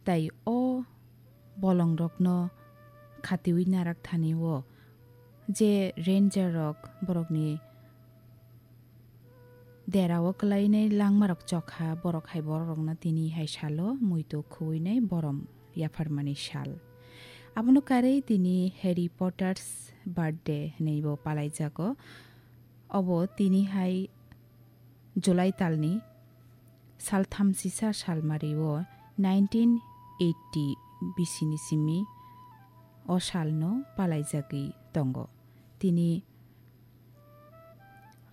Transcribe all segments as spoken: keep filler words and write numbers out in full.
Tai o bolongrokno khatiwi narak thani o je ranger rok borokni derao kwlainai langmarok chokha, borok hai bororokno tini hai salo muitu khuwinai borom yapharmani sal. Abono karwi tini Harry Potter's birthday hwnwibo palaijago. Obo tini hai July talni saltham sisa salmario nineteen eighty bisini simi o salno palaijagwi tongo. Tini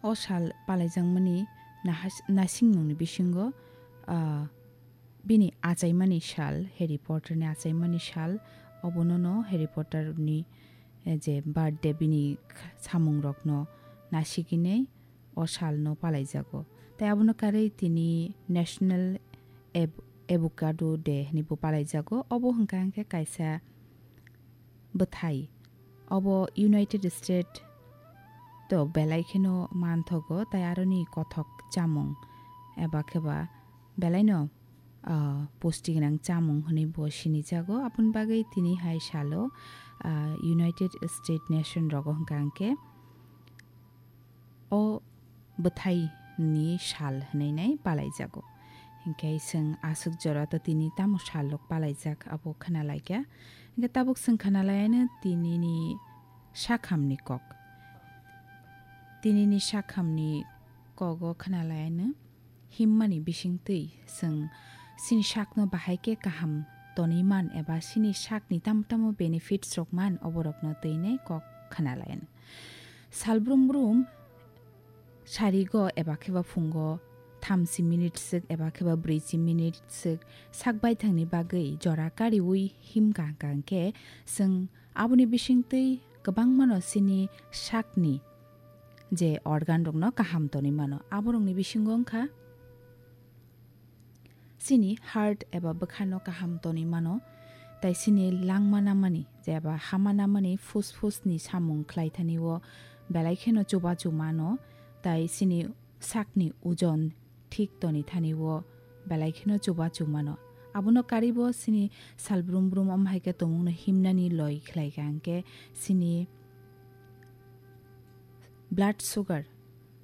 o sal palaijakmani nahas-, nasingnungni bisingo, ah, bini achaimani sal, Harry Potterni achaimani sal, obonono Harry Potterni, eh, je birthday bini kh-, samungrokno nasigini o salno palaijago. Tai abono karwi tini National Av-, Avocado Day hwnwibo palaijago. Obo hwnkha hwnkhe kaisa bwthai. Obo United States to belai kheno manthogo, tai aroni kothok chamung eba kheba belaino, ah, pusti gwnang chamung hwnwi bo sinijago. Aboni bagwi tini hai salo, ah, United States nation rogo hwnkha hwnkhe o bwthai ni sal hwnwi nai palaijago. Hinkhe chwng aswk jora to tini tamo sal rok palaijak abo khna laikha. Hinkhe tabuk chwng khna laiano tinini sakhamni kok. Tinini sakhamni kogo khna laiano himmani bisingtwi chwng chini sakno bahai khe kaham tonwi man eba chini sakni tamo tamo benefits rok man oborokno twi nai kok khna laiano. Salbrum brum sarigo eba kheba phungo thamchi minute swk eba kheba brwichi minute swk sak baithangni bagwi jora kariwi him kaham kaham khe chwng aboni bisingtwi kwbangmano chini sakni je organ rokno kaham tonwi mano. Aborokni bisingo wngkha chini heart eba bwkhano kaham tonwi mano, tai chini langma namani je eba hama namani phusphusni samung khlai thani o belai kheno chubachu mano, tai chini sakni ojon thik toni thani o belai kheno chubachu mano. Abono karibo chini salbrum brum om hai khe tongmungno himnani loi khlai kha hwnkhe chini blood sugar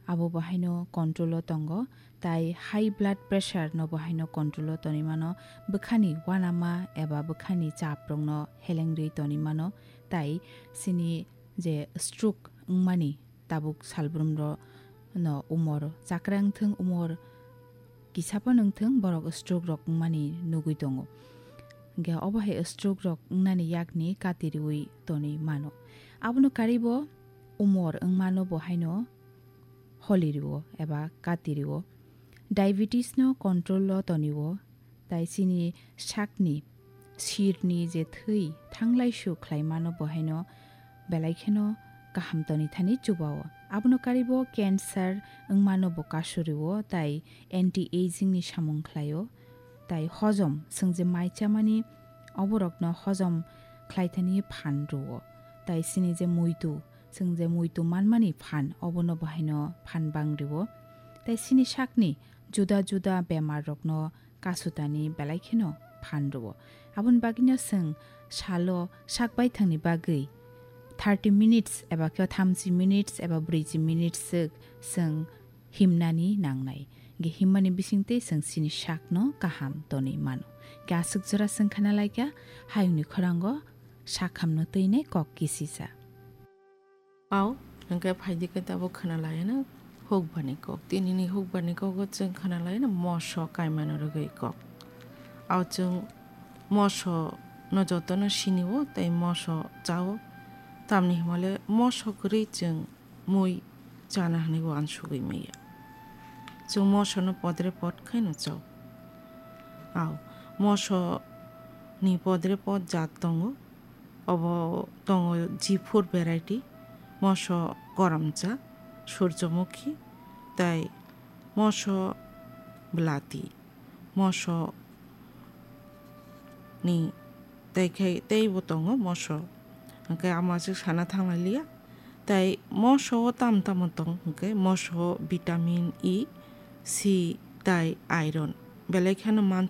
abo bo haino control o tongo, tai high blood pressure no bo haino control o tonwi mano, bwkhani uanama eba bwkhani chap rokno helengrwi tonwi mano, tai chini je stroke wngmani tabuk salbrum rok no umor chakra wngthwng, umor kisa phano wngthwng, borok stroke rok wngmani nugwi tongo. Hwnkhe obo hai stroke rok wngnani yakni kati riwi tonwi mano. Abono karibo umor wngmano bo haino holi rio eba kati rio. Diabetes no control o tonwi o, tai chini sakni sirni je thwi thanglaisu khlai mano bo haino belai kheno kaham toni thani chuba o. Abono karibo cancer wngmano bo kasu rio, tai anti aging ni samung khlai o. Tai hojom, chwng je mai chamani oborokno hojom khlai thani phan rwo. Tai chini je muitu, chwng je muitu manmani phan, obono bo haino phan bang rwo. Tai chini sakni juda juda bemar rokno kasutani belai kheno phan rwo. Aboni bagwino chwng salo sak baithangni bagwi thirty minutes eba khe thamchi minutes eba brwichi minutes swk chwng himnani nangnai. Ge himmani bisingtwi chwng chini sakno kaham tonwi mano. Ge aswk jora chwng khna laikha, hayungni khorango sakhamno twinai kok kisisa. Au, hwnkhe phaidi khe tabuk khna laiano hukbani kok. Tinini hukbani kogo chwng khna laiano moso kaimano rwgwi kok. Au chwng moso no jotono sinio tei moso chao. Tamni hwnmale moso kwrwi chwng mui chana hwnwi uansugwi maya. Chwng mosono podre pod khaino chao. Au, moso ni podre pod jaat tongo. Obo tongo G four variety, moso koramcha, surjomukhi, tai moso belati, moso ni tai khai teibo tongo moso. Hwnkhe ama aswk sana thanglailia. Tai moso o tamo tamo tong hwnkhe moso o vitamin E, C tai iron belai kheno manthogo.